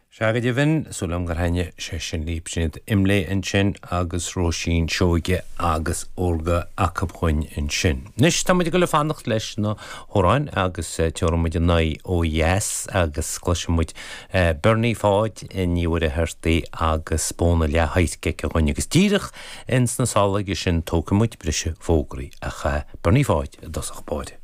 Sea go deimhin, súil agam gur thaitnigh sé sin libh. Sin iad Imlé ansin agus Róisín Seoige agus Órga acu dhúinn ansin. Anois tá muid ag dul ag fanacht leis na hamhráin agus tabharfaidh muid ár n-aghaidh ó dheas agus cloisfidh muid Bernie Pháid Ní Mhuircheartaigh agus Bóna Leath-Adhairc aici dhúinn agus díreach ins na sála aige sin tógfaidh muid briseadh fógraí ach Bernie Pháid i dtosach báire.